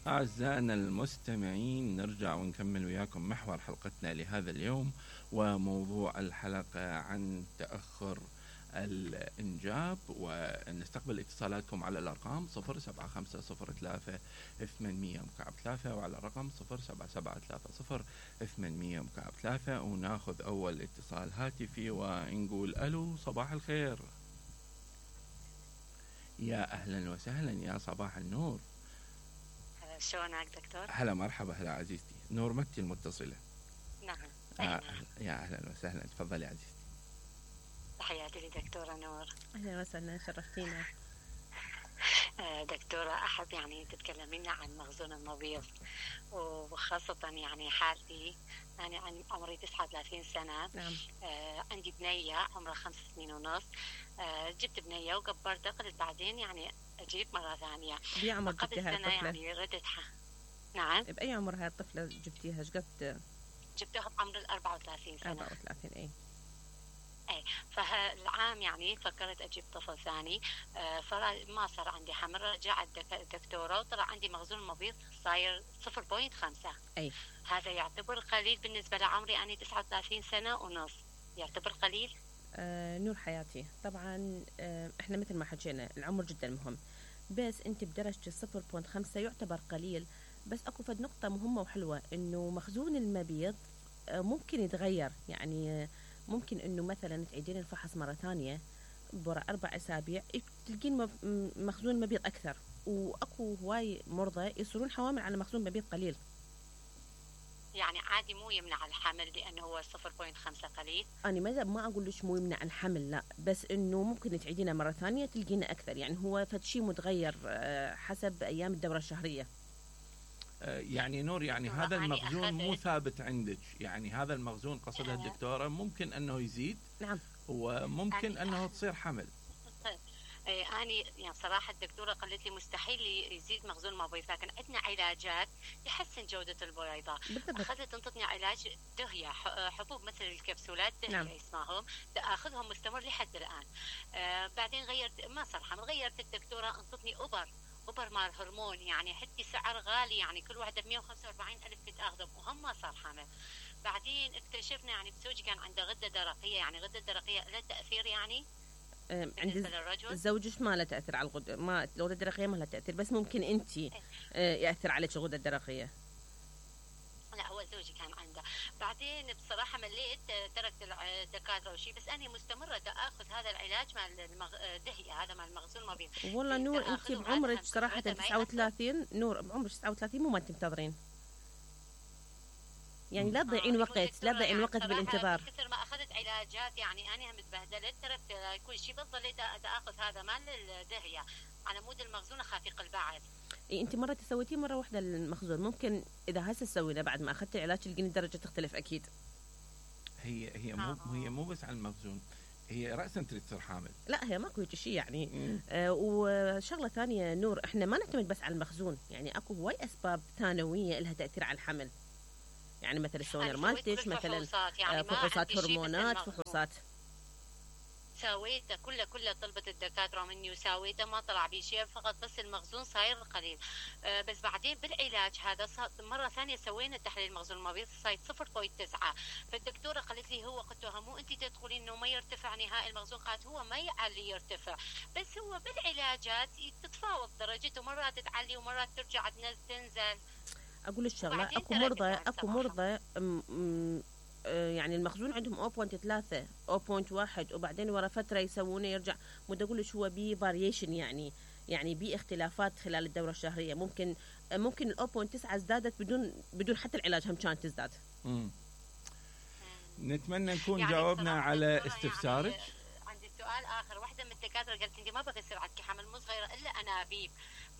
أعزائنا المستمعين، نرجع ونكمل وياكم محور حلقتنا لهذا اليوم، وموضوع الحلقة عن تأخر الإنجاب. ونستقبل اتصالاتكم على الأرقام 07503 وعلى الرقم 07730 وناخذ أول اتصال هاتفي ونقول ألو، صباح الخير. يا أهلا وسهلا، يا صباح النور. شلونك دكتور؟ هلا مرحبا، هلا عزيزتي نور مكي المتصلة. نعم. يا أهلا وسهلا، تفضلي عزيزتي. تحياتي لدكتورة نور. أهلا وسهلا، شرفتينا. دكتورة، أحب يعني تتكلمين عن مخزون المبيض، وخاصة يعني حالتي. أنا عمري 39 سنة. نعم. عندي بنية عمرها 5 سنين ونص. جبت بنية وكبرتها، قلت بعدين يعني أجيب مرة ثانية. بأي عمر قبل جبتيها سنة الطفلة؟ يعني ردتها. نعم. بأي عمر هاي الطفلة جبتيها؟ شقد؟ جبتها بعمر 34 سنة. 34. أي. فالعام يعني فكرت أجيب طفل ثاني. فما صار عندي حمل. رجعت الدكتورة وطلع عندي مخزون مبيض صاير 0.5. أي. هذا يعتبر قليل بالنسبة لعمري. أنا 39 سنة ونص. يعتبر قليل؟ نور حياتي، طبعا احنا مثل ما حكينا العمر جدا مهم، بس انت بدرجة 0.5 يعتبر قليل. بس اكو فد نقطة مهمة وحلوة، انه مخزون المبيض ممكن يتغير. يعني ممكن انه مثلا تعيدين الفحص مرة ثانية برا 4 أسابيع تلقين مخزون المبيض اكثر. واكو هواي مرضى يصيرون حوامل على مخزون مبيض قليل. يعني عادي مو يمنع الحمل لأنه هو 0.5 قليل؟ أنا ما أقول لك مو يمنع الحمل، لا، بس إنه ممكن تعيدينه مرة ثانية تلقينا أكثر. يعني هو فد شيء متغير حسب أيام الدورة الشهرية. يعني نور، يعني هذا المخزون مو ثابت عندك، يعني هذا المخزون قصدها الدكتورة ممكن أنه يزيد. نعم. وممكن أنه تصير حمل. أنا يعني صراحة الدكتورة قالت لي مستحيل يزيد مخزون المبيض، لكن عندنا علاجات يحسن جودة البويضة. أخذت تنطتني علاج دهية، حبوب مثل الكبسولات دهية. نعم. اسمهم أخذهم مستمر لحد الآن. بعدين غيرت، ما صار حمل، غيرت الدكتورة انطتني أوبر مال هرمون، يعني حتى سعر غالي، يعني كل واحدة 145,000 تاخذهم وهم ما صار حمل. بعدين اكتشفنا يعني زوجي كان عنده غدة درقية، يعني غدة درقية لها تأثير يعني عند زوجك ما له تأثير على الغدة، ما الغدة الدرقية ما لها تأثير، بس ممكن أنت يأثر عليك الغدة الدرقية. لا، هو زوجي كان عنده. بعدين بصراحة مليت، تركت الدكاترة وشي، بس أنا مستمرة أخذ هذا العلاج مال الدهية، هذا مال مخزون المبيض. والله نور، أنت بعمرك صراحة 39، نور بعمرك 39 مو ما تنتظرين. يعني لا تضيعين وقت، لا تضيعين وقت بالانتظار. كثر ما أخذت علاجات يعني أنا هم تبهدلت، تركت كل شيء، بس ضليت أخذ هذا مال الدهية على مود المخزون أخاف يقل بعد. انت مرة سويتيه مرة واحدة المخزون، ممكن اذا هسه تسوينه بعد ما اخذت العلاج تلقين الدرجة تختلف اكيد. هي مو بس على المخزون، هي رأسا تريد تصير حامل. لا، هي ماكو هيك شيء يعني. وشغلة ثانية نور، احنا ما نعتمد بس على المخزون، يعني اكو هواي اسباب ثانوية لها تأثير على الحمل. يعني مثل السونر مالتش، مثلا يعني فحوصات هرمونات، فحوصات سويته كله طلبت الدكاترة مني وسويته ما طلع بي شيء، فقط بس المخزون صاير قليل. بس بعدين بالعلاج هذا مرة ثانية سوينا تحليل مخزون المبيض صاير 0.9. فالدكتورة قالت لي هو قلت لها مو انت تدخلين انه ما يرتفع نهائي المخزون؟ قالت هو ما يعلي يرتفع، بس هو بالعلاجات تتفاوت درجته، مرات تعلي ومرات ترجع تنزل. اقول لك شغله، اكو مرضى يعني المخزون عندهم 0.3 0.1 وبعدين ورا فتره يسوونه يرجع. بدي اقول لك هو بي فاريشن، يعني بي اختلافات خلال الدوره الشهريه. ممكن ال 0.9 ازدادت بدون حتى العلاج هم كانت تزداد. نتمنى نكون يعني جاوبنا على استفسارك. يعني عندي سؤال اخر. واحده من الدكاتره قالت انت ما بقى يصير عندك حمل مو صغيره الا انابيب،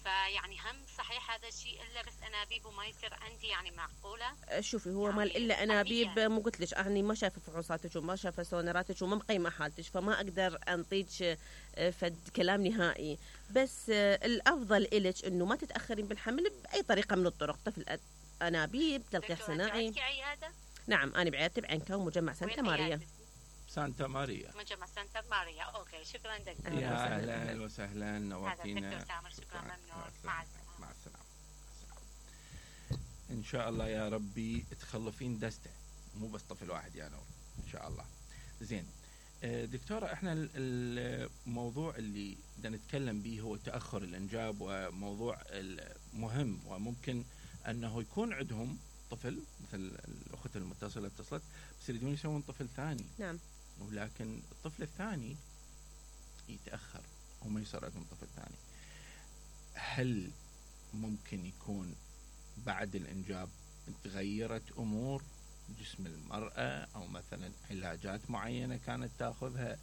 فيعني هم صحيح هذا الشيء الا بس انابيب وما يصير عندي؟ يعني معقوله؟ شوفي، هو يعني مال الا انابيب مو قلت لك اني ما شايفه فحوصاتك وما شايفه سونراتك وما مقيمه حالتك، فما اقدر انطيك فد كلام نهائي. بس الافضل إلك انه ما تتاخرين بالحمل باي طريقه من الطرق. طفل انابيب، تلقيح صناعي. نعم، انا بعيادتي بعنكا ومجمع سانتا ماريا. سانتا ماريا، مجمع سانتا ماريا. اوكي، شكرا دكتور. يا اهلا وسهلا، نورتينا. شكرا، ممنون. مع السلامه. شاء الله يا ربي تخلفين دستة، مو بس طفل واحد يا نور ان شاء الله. زين دكتورة، احنا الموضوع اللي بدنا نتكلم به هو تأخر الانجاب، وموضوع مهم، وممكن انه يكون عندهم طفل مثل الاخت المتصلة اتصلت بس يريدون يسوون طفل ثاني. نعم. ولكن الطفل الثاني يتأخر وما يصير عندهم طفل ثاني. هل ممكن يكون بعد الانجاب تغيرت امور جسم المرأة، او مثلا علاجات معينة كانت تاخذها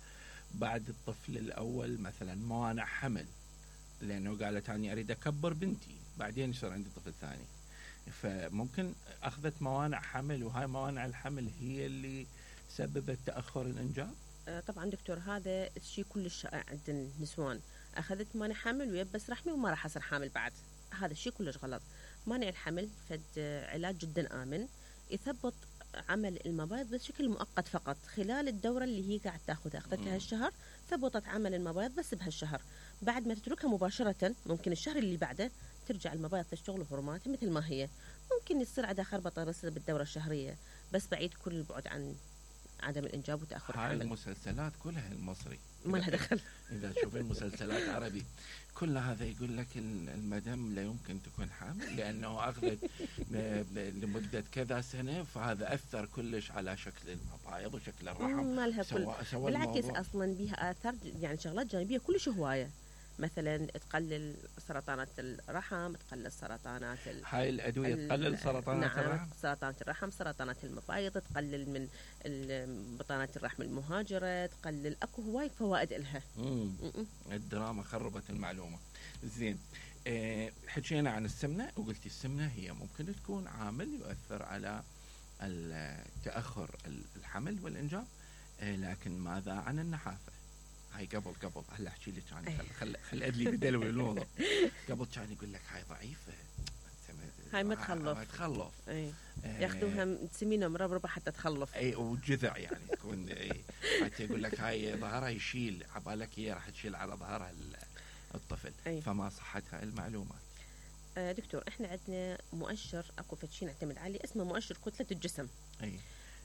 بعد الطفل الاول، مثلا موانع حمل، لانه قالت اني اريد اكبر بنتي بعدين يصير عندي طفل ثاني، فممكن اخذت موانع حمل وهاي موانع الحمل هي اللي سببت تاخر الانجاب؟ طبعا دكتور، هذا الشيء كلش شائع عند النسوان، اخذت مانع حمل ويبس رحمي وما راح اصير حامل بعد. هذا الشيء كلش غلط. مانع الحمل فد علاج جدا امن، يثبط عمل المبايض بشكل مؤقت فقط خلال الدوره اللي هي قاعد تاخذها. اخذتها هالشهر، ثبطت عمل المبايض بس بهالشهر، بعد ما تتركها مباشره ممكن الشهر اللي بعده ترجع المبايض تشتغل هرموناتها مثل ما هي. ممكن يصير عندها خربطه بس بالدوره الشهريه، بس بعيد كل البعد عن عدم الانجاب وتاخر الحمل. هاي المسلسلات كلها المصري ما لها دخل. اذا تشوفين مسلسلات عربي كل هذا يقول لك المدام لا يمكن تكون حامل لانه اخذت لمده كذا سنه، فهذا اثر كلش على شكل المبايض وشكل الرحم. ما لها كل، بالعكس اصلا بها اثار يعني شغلات جانبيه كلش هوايه، مثلا تقلل سرطانات الرحم، تقلل سرطانات هاي الادويه تقلل سرطانات الرحم، سرطانات الرحم، سرطانات المبايض، تقلل من بطانات الرحم المهاجره، تقلل، اكو هواي فوائد لها. الدراما خربت المعلومه. زين حكينا عن السمنه، وقلتي السمنه هي ممكن تكون عامل يؤثر على تاخر الحمل والانجاب، لكن ماذا عن النحافه؟ هاي قبل هلا احكي لك يعني خل ادلي بدلوي الموضوع. قبل كان يقول لك هاي ضعيفه، هاي ما تخلف. ياخذوها تسمينها مربربه حتى تخلف. اي وجذع يعني تكون حتى يقول لك هاي ظهرها يشيل، عبالك هي راح تشيل على ظهرها الطفل. فما صحت هاي المعلومات؟ دكتور، احنا عندنا مؤشر اكو فشي نعتمد عليه اسمه مؤشر كتله الجسم.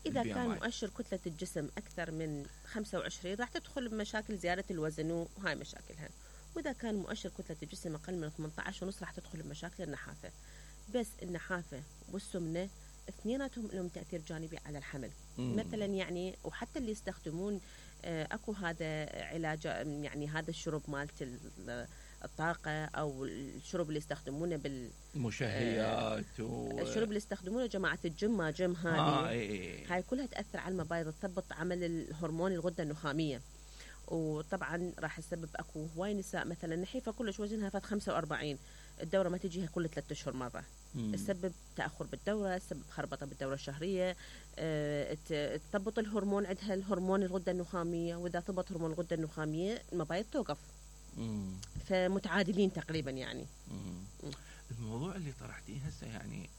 إذا كان مؤشر كتلة الجسم أكثر من 25 راح تدخل بمشاكل زيادة الوزن وهاي مشاكلها، وإذا كان مؤشر كتلة الجسم أقل من 18.5 راح تدخل بمشاكل النحافة. بس النحافة والسمنة اثنيناتهم لهم تأثير جانبي على الحمل. مثلا يعني وحتى اللي يستخدمون أكو هذا علاج، يعني هذا الشرب مالت الطاقة أو الشرب اللي يستخدمونه بالمشهيات الشرب اللي يستخدمونه جماعة الجيم هذه هاي كلها تأثر على المبايض، تثبط عمل الهرمون الغدة النخامية، وطبعا راح تسبب اكو هواي نساء مثلا نحيفة كلش وزنها فات 45 الدورة ما تجيها كل 3 أشهر مرة. تسبب تأخر بالدورة، تسبب خربطة بالدورة الشهرية، تثبط الهرمون عندها الهرمون الغدة النخامية، وإذا ثبت هرمون الغدة النخامية المبايض توقف. فمتعادلين تقريبا يعني. الموضوع اللي طرحتيه هسه يعني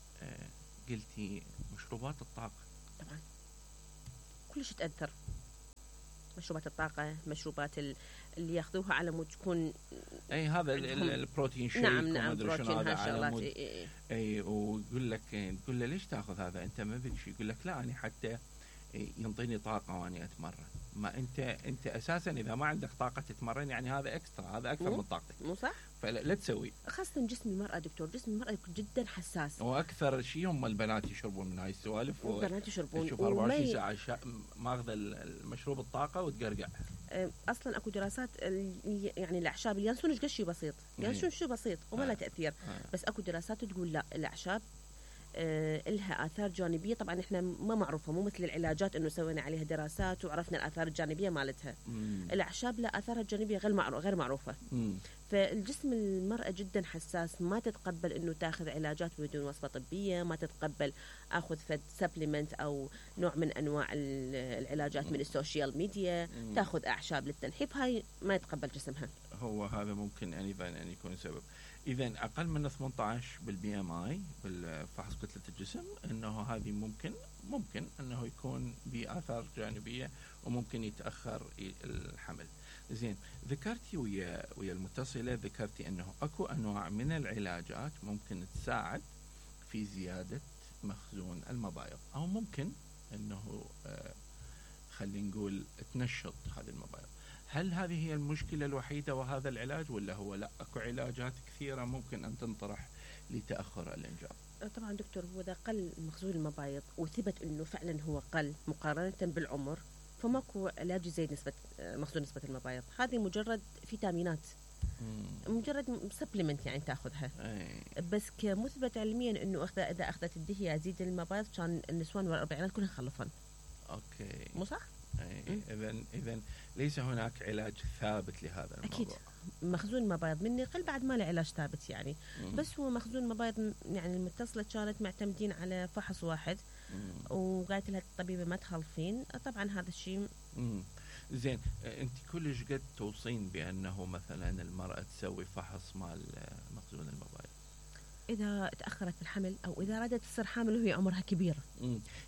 قلتي مشروبات الطاقة، طبعا كلش تأثر. مشروبات الطاقة، مشروبات اللي ياخذوها على مود تكون هذا البروتين شيك. نعم بروتين هالشغلات. ويقول لك تقول له ليش تاخذ هذا انت ما بك شيء، يقول لك لا أنا حتى ينطيني طاقة واني اتمرن. ما انت اساسا اذا ما عندك طاقة تتمرن يعني هذا اكسترا، هذا اكثر من طاقتك، مو صح؟ فلا تسوي. خاصة جسم المرأة دكتور، جسم المرأة جدا حساس، واكثر شيء هم البنات يشربون من هاي السوالف. البنات يشربون، تشوف 24 ساعة ماخذ المشروب الطاقة وتقرقع. اصلا اكو دراسات يعني الاعشاب اليانسون ايش شيء بسيط، يانسون شيء بسيط وما له تأثير. بس اكو دراسات تقول لا، الاعشاب لها آثار جانبية. طبعا احنا ما معروفة، مو مثل العلاجات انه سوينا عليها دراسات وعرفنا الآثار الجانبية مالتها. الاعشاب لا، آثارها الجانبية غير معروفة. فالجسم المرأة جدا حساس، ما تتقبل انه تاخذ علاجات بدون وصفة طبية، ما تتقبل اخذ فد سبليمنت او نوع من انواع العلاجات من السوشيال ميديا، تاخذ اعشاب للتنحيف، هاي ما يتقبل جسمها. هو هذا ممكن أن يكون سبب. إذا أقل من 18 بالبي ام اي بالفحص كتلة الجسم، أنه هذه ممكن أنه يكون بآثار جانبية وممكن يتأخر الحمل. زين، ذكرتي ويا المتصلة، ذكرتي أنه أكو أنواع من العلاجات ممكن تساعد في زيادة مخزون المبايض، أو ممكن أنه خلينا نقول تنشط هذه المبايض. هل هذه هي المشكلة الوحيدة وهذا العلاج، ولا هو لا أكو علاجات كثيرة ممكن أن تنطرح لتأخر الإنجاب؟ طبعا دكتور، هو إذا قل مخزون المبايض وثبت أنه فعلا هو قل مقارنة بالعمر، فماكو علاج زي مخزون نسبة المبايض. هذه مجرد فيتامينات، مجرد سبلمنت يعني تاخذها. بس كمثبت علميا انه اذا اخذت الدهيه يزيد المبايض، كان النسوان والاربعينات كلها خلفن. اوكي، مو صح؟ اذا ليس هناك علاج ثابت لهذا الموضوع. اكيد مخزون المبايض من يقل بعد ما له علاج ثابت يعني. بس هو مخزون المبايض يعني المتصله كانت معتمدين على فحص واحد، وقالت لها الطبيبه ما تخلفين. طبعا هذا الشيء زين. انت كلش قد توصين بانه مثلا المراه تسوي فحص مال مخزون المبايض اذا تاخرت في الحمل، او اذا ارادت تصير حامل وهي عمرها كبير.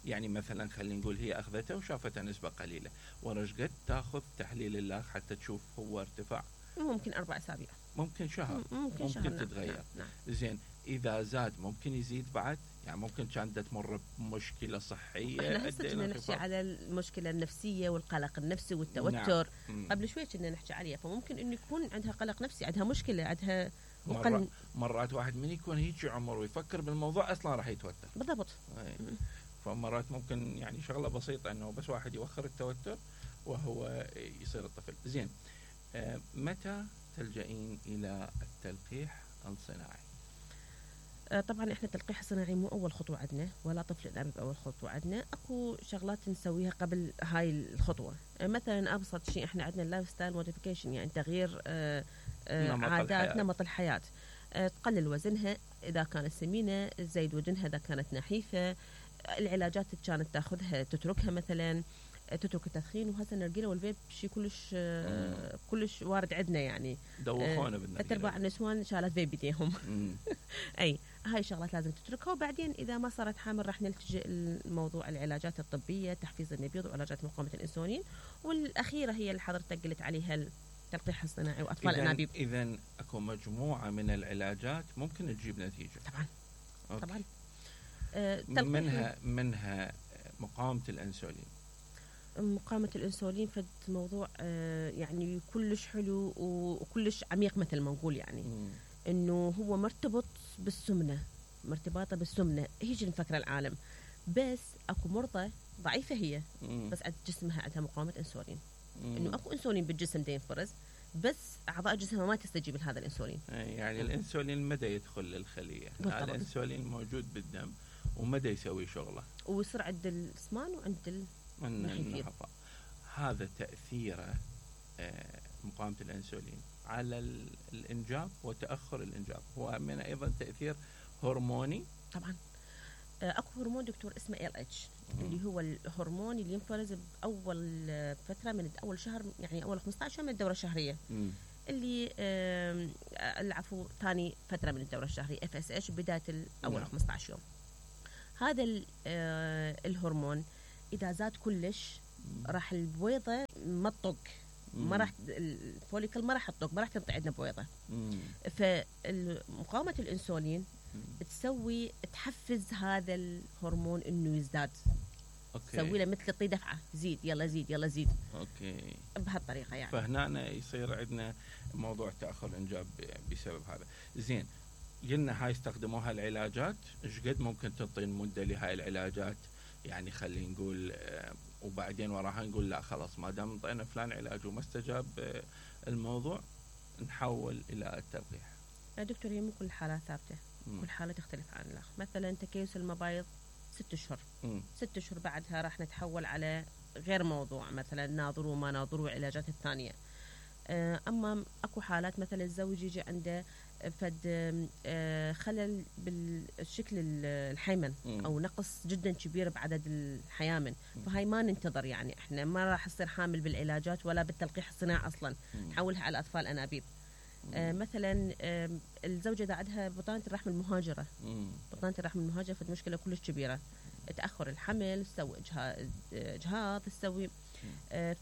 يعني مثلا خلينا نقول هي اخذتها وشافتها نسبه قليله، ورش قد تاخذ تحليل اللاغ حتى تشوف هو ارتفاع؟ ممكن 4 أسابيع، ممكن شهر، ممكن شهر. تتغير. نعم. زين، اذا زاد ممكن يزيد بعد؟ يعني ممكن كانت تمر بمشكله صحيه. احنا هسه كنا نحكي على المشكله النفسيه والقلق النفسي والتوتر. نعم. قبل شوي كنا نحكي عليها، فممكن انه يكون عندها قلق نفسي، عندها مشكله، عندها مرات واحد من يكون هيك عمر ويفكر بالموضوع اصلا راح يتوتر. بالضبط. فمرات ممكن يعني شغله بسيطه انه بس واحد يوخر التوتر وهو يصير الطفل. زين، متى تلجئين الى التلقيح الصناعي؟ طبعا احنا التلقيح الصناعي مو اول خطوه عندنا، ولا طفل الانابيب اول خطوه عندنا. اكو شغلات نسويها قبل هاي الخطوه. مثلا ابسط شيء احنا عندنا اللايف ستايل موديفيكيشن، يعني تغيير عادات نمط الحياه. تقلل وزنها اذا كانت سمينه، تزيد وزنها اذا كانت نحيفه. العلاجات اللي كانت تاخذها تتركها، مثلا تترك التدخين. وهسه النرجيله والفيب شيء كلش وارد عندنا يعني. دوخونا بالنرجيله. ارباع النسوان شالت فيب بيديهم. اي هاي الشغلات لازم تتركها. وبعدين اذا ما صارت حامل راح نلتجئ لموضوع العلاجات الطبيه، تحفيز النبيض وعلاجات مقاومه الانسولين. والاخيره هي اللي حضرتك قلت عليها التلقيح الصناعي واطفال الانابيب. اذا اكو مجموعه من العلاجات ممكن تجيب نتيجه. طبعا. أوكي. طبعا. منها مقاومه الانسولين. مقاومة الانسولين فد موضوع يعني كلش حلو وكلش عميق مثل ما نقول يعني. انه هو مرتبط بالسمنة، مرتبطة بالسمنة هيجي نفكر العالم. بس اكو مرضى ضعيفة هي، بس عند جسمها عندها مقاومة انسولين. انه اكو انسولين بالجسم دا ينفرز، بس اعضاء جسمها ما تستجيب لهذا الانسولين. يعني الانسولين مدى يدخل للخلية. الانسولين موجود بالدم ومدى يسوي شغله، ويصير عند الاسمان وعند النحفة. هذا تأثيره مقاومة الانسولين على الانجاب وتأخر الانجاب. هو من ايضا تأثير هرموني. طبعا. اكو هرمون دكتور اسمه LH، اللي هو الهرمون اللي ينفرز باول فتره من اول شهر، يعني اول 15 من الدوره الشهريه. اللي العفو ثاني فتره من الدوره الشهريه FSH بدايه اول 15 يوم. هذا الهرمون اذا زاد كلش راح البويضه ما تطق، ما راح الفوليكل ما راح تطق، ما راح تنطي عندنا بويضه. فمقاومه الانسولين تحفز هذا الهرمون انه يزداد. تسوي له مثل تعطيه دفعه، زيد يلا زيد يلا زيد. اوكي، بهالطريقه يعني. فهنا يصير عندنا موضوع تاخر الانجاب بسبب هذا. زين، قلنا هاي استخدموها العلاجات. ايش قد ممكن تعطي مده لهاي العلاجات؟ يعني خلينا نقول وبعدين وراها نقول لا خلاص ما دام انطينا فلان علاج وما استجاب الموضوع نحول الى التلقيح. دكتور، هي مو كل حاله ثابته، كل حاله تختلف عن الاخر. مثلا تكيس المبايض 6 أشهر، 6 أشهر بعدها راح نتحول على غير موضوع، مثلا ناظروا ما ناظروا العلاجات الثانيه. اما اكو حالات مثلا الزوج يجي عنده فد خلل بالشكل الحيمن او نقص جدا كبير بعدد الحيامن، فهاي ما ننتظر يعني. احنا ما راح تصير حامل بالعلاجات ولا بالتلقيح الصناعي اصلا، نحولها على اطفال انابيب. مثلا الزوجه اذا عندها بطانه الرحم المهاجره، بطانه الرحم المهاجره فد مشكله كلش كبيره، تاخر الحمل، تسوي اجهاض، تسوي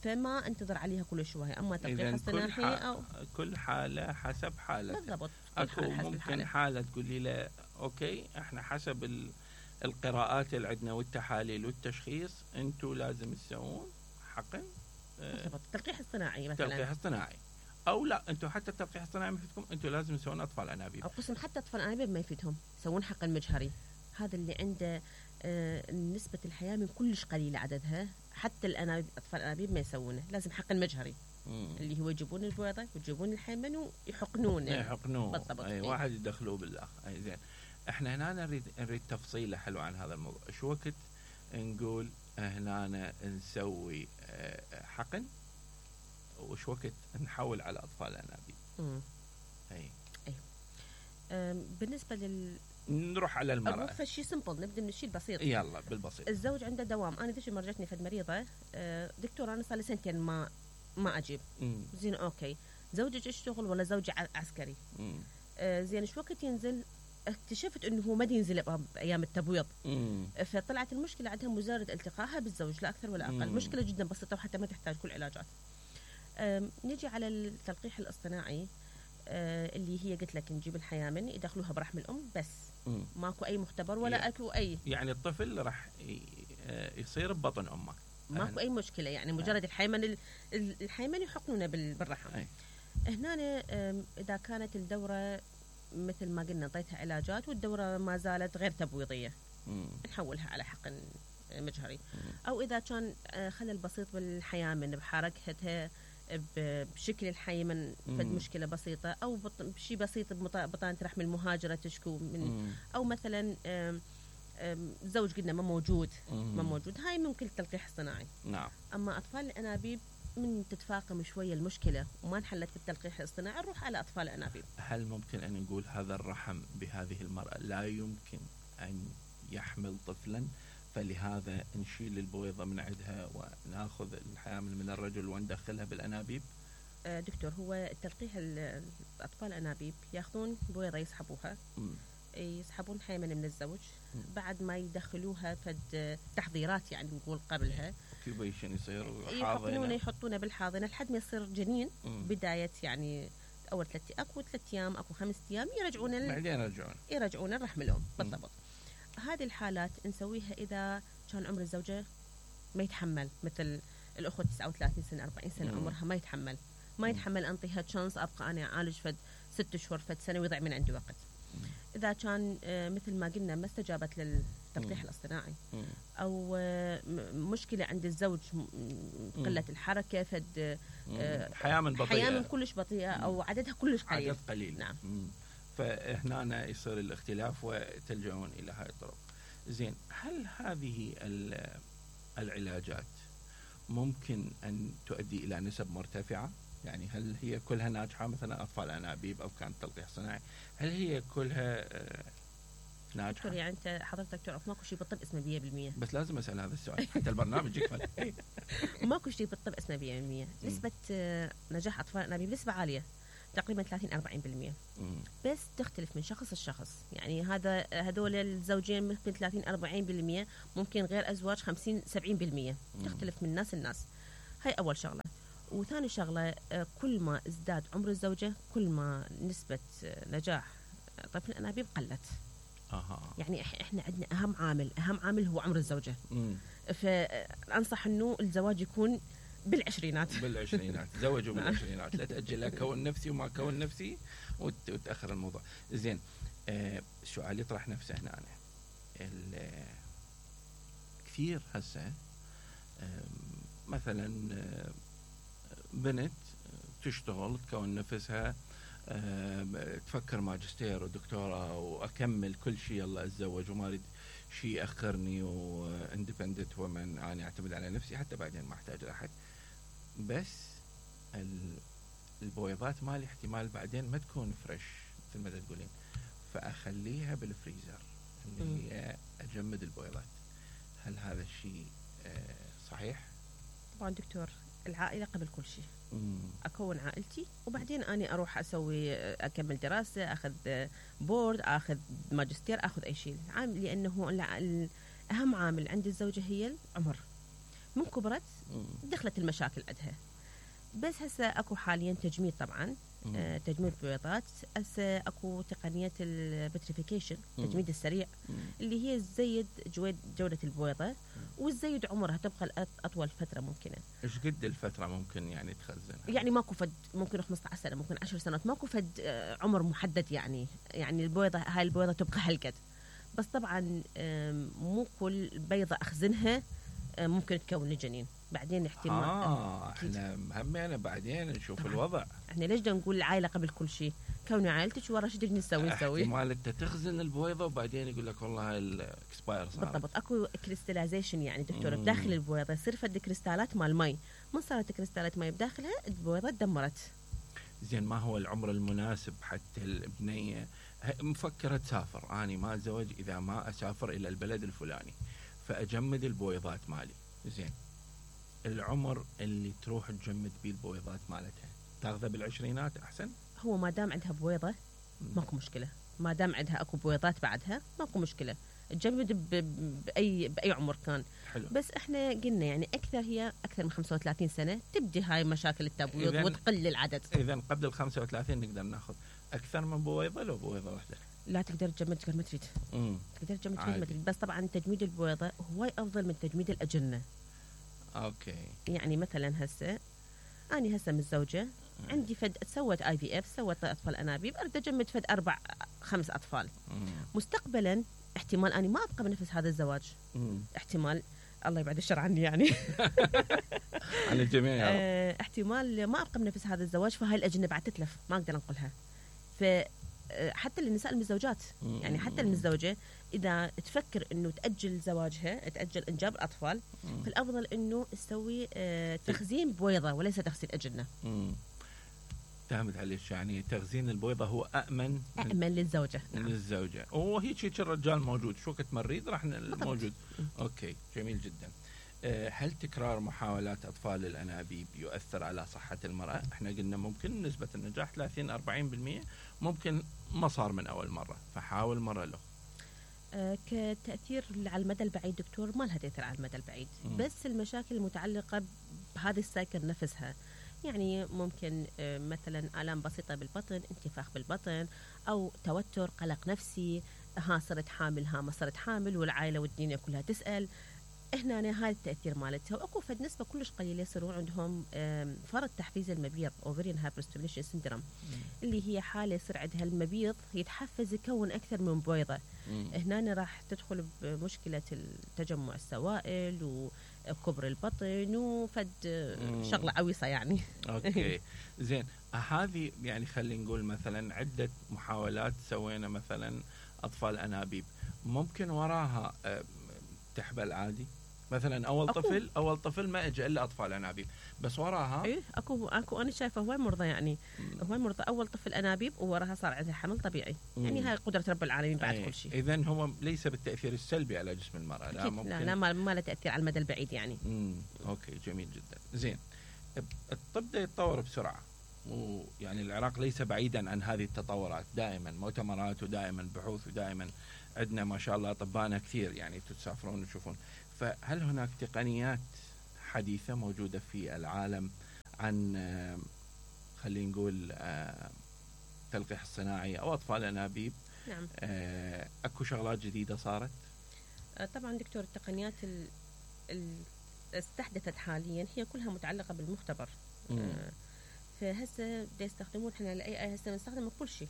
فما انتظر عليها كل شويه. اما تلقيح الصناعي او كل حاله حسب حالتها. بالضبط. اكو ممكن حاله تقولي له اوكي احنا حسب القراءات اللي عندنا والتحاليل والتشخيص انتم لازم تسوون حقن التلقيح الصناعي مثلا. التلقيح الصناعي او لا انتم حتى التلقيح الصناعي ما يفيدكم، انتم لازم تسوون اطفال انابيب او قسم حتى اطفال انابيب ما يفيدهم، يسوون حقن مجهري. هذا اللي عنده نسبة الحياة كلش قليلة عددها، حتى الانابيب اطفال الانابيب ما يسوونه، لازم حقن مجهري اللي هو يجيبون البويضة ويجيبون الحيمن ويحقنونه. بالضبط. اي واحد يدخلوه بالاخ. اي زين. احنا هنا نريد تفصيله حلوه عن هذا الموضوع. شو وقت نقول هنا نسوي حقن وش وقت نحول على اطفال الانابيب؟ اي بالنسبه نروح على المرأة. فشي سمبل، نبدا من الشيء البسيط. يلا بالبسيط. الزوج عنده دوام. انا ذيك مرجتني فد مريضه دكتور انا صار لي سنتين ما اجيب. زين اوكي، زوجك يشتغل ولا زوجي عسكري؟ زين شو وقت ينزل؟ اكتشفت انه هو ما ينزل بايام التبويض. فطلعت المشكله عندها مجرد التقائها بالزوج، لا اكثر ولا اقل. مشكله جدا بسيطه وحتى ما تحتاج كل علاجات. نجي على التلقيح الاصطناعي اللي هي قلت لك نجيب الحيامن يدخلوها برحم الام بس. ماكو اي مختبر ولا اكو اي، يعني الطفل راح يصير ببطن امه، ماكو اي مشكله. يعني مجرد الحيمن يحقنونه بالرحم. هنا اذا كانت الدوره مثل ما قلنا نعطيتها علاجات والدوره ما زالت غير تبويضيه نحولها على حقن مجهري. او اذا كان خلل بسيط بالحيامن بحركتها بشكل الحيمن فد مشكله بسيطه، او شيء بسيط ببطانه رحم المهاجره تشكو من، او مثلا زوج قلنا ما موجود، هاي ممكن التلقيح الصناعي. نعم. اما اطفال الانابيب من تتفاقم شويه المشكله وما انحلت بالتلقيح الاصطناعي نروح على اطفال الانابيب. هل ممكن ان نقول هذا الرحم بهذه المراه لا يمكن ان يحمل طفلا، فلهذا نشيل البويضه من عندها وناخذ الحيامل من الرجل وندخلها بالانابيب؟ دكتور، هو التلقيح اطفال الانابيب ياخذون بويضه يسحبوها، يسحبون حيمن من الزوج، بعد ما يدخلوها فد تحضيرات يعني نقول قبلها كيوبيشن يصير يحطونه بالحاضنه لحد ما يصير جنين. بدايه يعني اول 3 ايام اكو 5 ايام بعدين يرجعون الرحم الام. بالضبط. هذه الحالات نسويها اذا كان عمر الزوجه ما يتحمل، مثل الاخوه 39 سنه 40 سنه عمرها ما يتحمل انطيها تشانس ابقى انا اعالج فد 6 اشهر فد سنه ويضيع من عندي وقت. اذا كان مثل ما قلنا ما استجابت للتلقيح الاصطناعي، او مشكله عند الزوج قله الحركه فد حيامن كلش بطيئه او عددها كلش قليل. نعم. فهنا يصير الاختلاف وتلجؤون الى هاي الطرق. زين، هل هذه العلاجات ممكن ان تؤدي الى نسب مرتفعه؟ يعني هل هي كلها ناجحه؟ مثلا اطفال انابيب او كانت تلقيح صناعي، هل هي كلها ناجحه؟ دكتور يعني انت حضرتك تعرف ماكو شيء بالطب اسمه 100%. بس لازم اسال هذا السؤال حتى البرنامج يكمل. ماكو شيء بالطب اسمه 100%. نسبه نجاح اطفال الانابيب نسبه عاليه، تقريبا 30-40%. بس تختلف من شخص لشخص. يعني هذول الزوجين ممكن 30-40%، ممكن غير ازواج 50-70%. تختلف من ناس لناس. هاي اول شغله. وثاني شغله، كل ما ازداد عمر الزوجه كل ما نسبه نجاح طفل الانابيب قلت. يعني احنا عندنا اهم عامل هو عمر الزوجه. فانصح انه الزواج يكون بالعشرينات. تزوجوا بالعشرينات، لا تأجل كون نفسي وما كون نفسي وتأخر الموضوع. زين، السؤال يطرح نفسه هنا. كثير هسه مثلا بنت تشتغل تكون نفسها، تفكر ماجستير ودكتوراه واكمل كل شيء، يلا اتزوج وما اريد شيء ياخرني، واندبندنت ومن انا اعتمد على نفسي حتى بعدين ما احتاج لاحد. بس البويضات مالي احتمال بعدين ما تكون فريش مثل ما تقولين، فاخليها بالفريزر اللي هي اجمد البويضات. هل هذا الشيء صحيح؟ طبعا دكتور، العائله قبل كل شيء. اكون عائلتي وبعدين اني اروح اكمل دراسه، اخذ بورد، اخذ ماجستير، اخذ اي شيء. لانه اهم عامل عند الزوجه هي العمر. من كبرت دخلت المشاكل عندها. بس هسه اكو حاليا تجميد طبعا تجميد بويضات. هسه اكو تقنيه البتريفيكيشن، التجميد السريع، اللي هي تزيد جوده البويضه وتزيد عمرها، تبقى اطول فتره ممكنه. ايش قد الفتره ممكن يعني تخزنها؟ يعني ماكو فد، ممكن 15 سنه، ممكن 10 سنوات، ماكو فد عمر محدد يعني البويضه هاي البويضه تبقى هالقد. بس طبعا مو كل بيضه اخزنها ممكن تكون الجنين، بعدين احتمال. احنا همينا بعدين نشوف الوضع. احنا ليش بدنا نقول العائله قبل كل شيء؟ كوني عائلتك ورا شو بدنا نسوي؟ احتمال انت تخزن البويضه وبعدين يقول لك والله هاي الاكسباير صار. بالضبط، اكو كريستاليزيشن يعني دكتور بداخل البويضه يصير فد كريستالات مال مي، من صارت كريستالات مي بداخلها البويضه تدمرت. زين، ما هو العمر المناسب حتى البنيه مفكره تسافر؟ اني ما اتزوج اذا ما اسافر الى البلد الفلاني فاجمد البويضات مالي. زين، العمر اللي تروح تجمد بيه البويضات مالتها تاخذها بالعشرينات احسن؟ هو ما دام عندها بويضه ماكو مشكله، ما دام عندها اكو بويضات بعدها ماكو مشكله، تجمد باي عمر كان. حلو. بس احنا قلنا يعني هي اكثر من 35 سنه تبدي هاي مشاكل التبويض وتقل العدد. اذا قبل ال 35 نقدر ناخذ اكثر من بويضه لو بويضه واحده؟ لا، تقدر تجمد قد ما تريد. تقدر تجمد قد ما تريد، بس طبعا تجميد البويضه هواي افضل من تجميد الاجنه. اوكي. يعني مثلا هسه اني متزوجه، عندي فد سوت IVF، سوت اطفال انابيب، اريد اجمد فد 4-5 اطفال. مستقبلا احتمال اني ما ابقى بنفس هذا الزواج. احتمال، الله يبعد الشر عني يعني عن الجميع يا رب. احتمال ما ابقى بنفس هذا الزواج، فهاي الاجنه بعد تتلف، ما اقدر انقلها. حتى للنساء المتزوجات، يعني حتى المتزوجه اذا تفكر انه تاجل زواجها، تاجل انجاب الاطفال، فالافضل انه تسوي تخزين بويضه وليس تخزين اجنه. فهمت عليك، يعني تخزين البويضه هو امن للزوجه. للزوجه، وهيك الرجال موجود شو وقت مريض راح موجود. اوكي، جميل جدا. هل تكرار محاولات اطفال الانابيب يؤثر على صحه المراه؟ احنا قلنا ممكن نسبه النجاح 30-40%، ممكن ما صار من اول مره، فحاول مره له. كتاثير على المدى البعيد دكتور ما لها تاثير على المدى البعيد، بس المشاكل المتعلقه بهذه السايكل نفسها، يعني ممكن مثلا آلام بسيطة بالبطن، انتفاخ بالبطن، أو توتر، قلق نفسي، صرت حامل، ما صرت حامل، والعائلة والدنيا كلها تسأل. هنا هذا التأثير مالتها. وأكو فد نسبة كلش قليلة يصيرون عندهم فرط تحفيز المبيض ovarian hyperstimulation syndrome، اللي هي حالة يصير عندها المبيض يتحفز يكون أكثر من بويضة. هنا راح تدخل بمشكلة تجمع السوائل وكبر البطن وفد شغلة عويصة يعني. أوكي. زين، هذه يعني خلينا نقول مثلا عدة محاولات سوينا مثلا أطفال أنابيب، ممكن وراها تحبل عادي؟ مثلا اول طفل ما اجى الا اطفال انابيب، بس وراها اكو انا شايفه هواي مرضى، يعني هواي مرضى اول طفل انابيب ووراها صار عندها حمل طبيعي. يعني هاي قدره رب العالمين بعد كل شيء. اذا هو ليس بالتاثير السلبي على جسم المراه، لا ممكن، لا ما له تاثير على المدى البعيد يعني. اوكي، جميل جدا. زين، الطب ده يتطور بسرعه، ويعني العراق ليس بعيدا عن هذه التطورات، دائما مؤتمرات ودائما بحوث ودائما عندنا ما شاء الله اطباءنا كثير، يعني تسافرون وتشوفون. فهل هناك تقنيات حديثة موجودة في العالم عن خلينا نقول تلقيح الصناعي أو أطفال أنابيب؟ نعم. أكو شغلات جديدة صارت؟ طبعا دكتور، التقنيات استحدثت حاليا هي كلها متعلقة بالمختبر. فهسه يستخدمون احنا الاي هسه بنستخدم كل شيء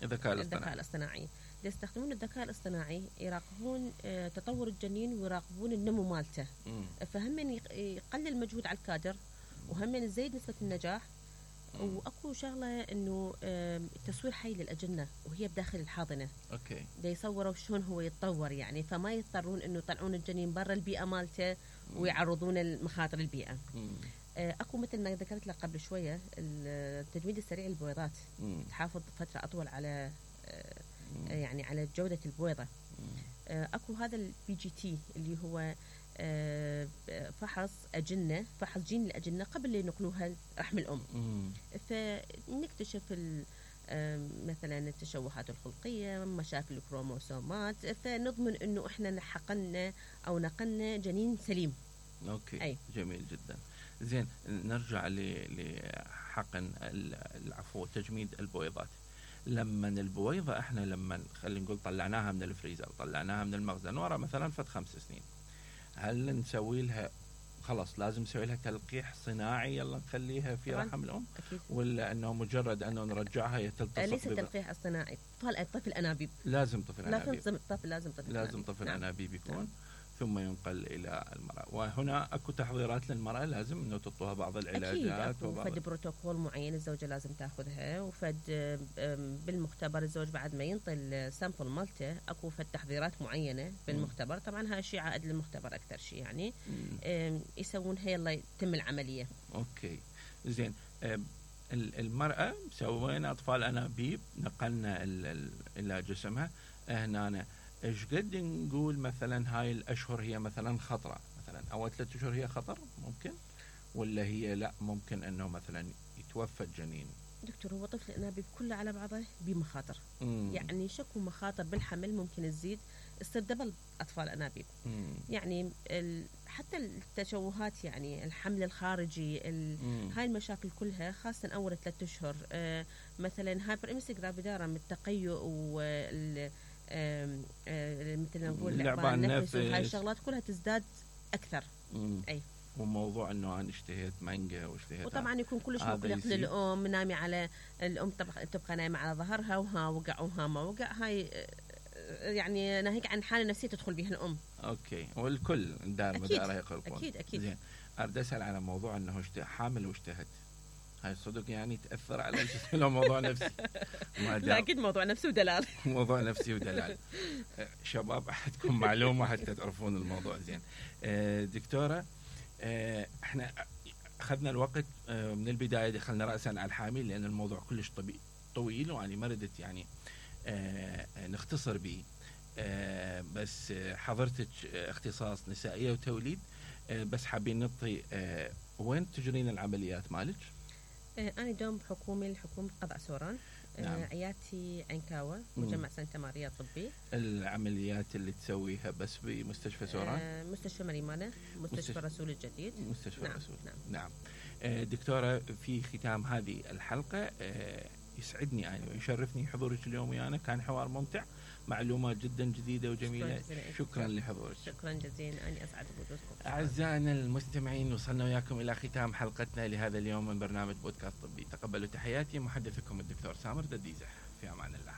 الذكاء الاصطناعي. يستخدمون الذكاء الاصطناعي يراقبون تطور الجنين ويراقبون النمو مالته، فهم يقلل المجهود على الكادر، وهم يزيد نسبة النجاح. واكو شغله انه تصوير حي للاجنه وهي بداخل الحاضنه. اوكي. دا يصوروا شلون هو يتطور، يعني فما يضطرون انه يطلعون الجنين برا البيئه مالته ويعرضون المخاطر البيئه. اكو مثل ما ذكرت لك قبل شويه التجميد السريع للبويضات، تحافظ فتره اطول على يعني على جوده البويضه. اكو هذا الPGT اللي هو فحص أجنة، فحص جين الأجنة قبل ينقلوها رحم الأم. فنكتشف مثلا التشوهات الخلقية، مشاكل الكروموسومات، فنضمن إنه إحنا حقنا أو نقلنا جنين سليم. أوكي. أي. جميل جدا. زين نرجع لحقن العفو تجميد البويضات. لما البويضة احنا لما خلينا نقول طلعناها من الفريزر، طلعناها من المخزن ورا مثلا فد 5 سنين، هل نسوي لها خلاص لازم نسوي لها تلقيح صناعي يلا نخليها في رحم الام أكيد. ولا انه مجرد انه نرجعها يتلتصق؟ ليس التلقيح الصناعي، طفل انابيب. لازم طفل انابيب. لازم طفل انابيب يكون ثم ينقل الى المراه. وهنا اكو تحضيرات للمراه لازم انه تعطوها بعض العلاجات وفد بروتوكول معين الزوجه لازم تاخذها، وفد بالمختبر الزوج بعد ما ينطي السامبل مالته اكو فد تحضيرات معينه بالمختبر. طبعا هاي شيء عائد للمختبر اكثر شيء يعني يسوونها يلا يتم العمليه. اوكي زين. المراه سوينا اطفال انابيب، نقلنا الى جسمها. هنا ايش قد نقول مثلا هاي الاشهر هي مثلا خطره، مثلا اول 3 اشهر هي خطر ممكن، ولا هي لا ممكن انه مثلا يتوفى الجنين؟ دكتور هو طفل الانابيب كله على بعضه بمخاطر. يعني شكو مخاطر بالحمل ممكن تزيد، تصير دبل اطفال انابيب. يعني حتى التشوهات يعني الحمل الخارجي هاي المشاكل كلها خاصه اول 3 اشهر. مثلا هايبر امسك جرافيدارم التقيؤ وال مثل ما نقول لعبان النفس وهاي الشغلات كلها تزداد اكثر. اي وموضوع انه انا اشتهيت مانجا واشتهيت، وطبعا يكون كلش مقلق للام، نامي على الام تبقى نايمه على ظهرها وها وقع وها ما وقع. هاي يعني ناهيك عن حاله نفسيه تدخل بها الام. اوكي والكل دار مداره يقلقون. اكيد زين اريد اسال على موضوع انه حامل واشتهت، هاي صدق يعني تاثر على الجسم لو موضوع نفسي؟ لا اكيد موضوع نفسي ودلال. موضوع نفسي ودلال. شباب عندكم معلومه حتى تعرفون الموضوع. زين دكتوره، احنا اخذنا الوقت من البدايه، دخلنا راسا على الحامل لان الموضوع كلش طويل واني ما ردت يعني نختصر به. بس حضرتك اختصاص نسائيه وتوليد، بس حابين نعطي وين تجرين العمليات مالك؟ انا دوم بحكومه الحكومه قضاء سوران. نعم. عيادتي عنكاوة مجمع سانتا ماريا الطبي. العمليات اللي تسويها بس بمستشفى سوران؟ مستشفى مريمانة، مستشفى رسول الجديد. مستشفى نعم. رسول. نعم. دكتورة في ختام هذه الحلقة يسعدني أنا ويشرفني حضورك اليوم ويانا، كان حوار ممتع، معلومات جدا جديدة وجميلة. شكرا لحضورك. شكرا جزيلا، أنا أسعد بوجودكم. أعزائنا المستمعين، وصلنا وياكم إلى ختام حلقتنا لهذا اليوم من برنامج بودكاست طبي. تقبلوا تحياتي، محدثكم الدكتور سامر دديزة، في أمان الله.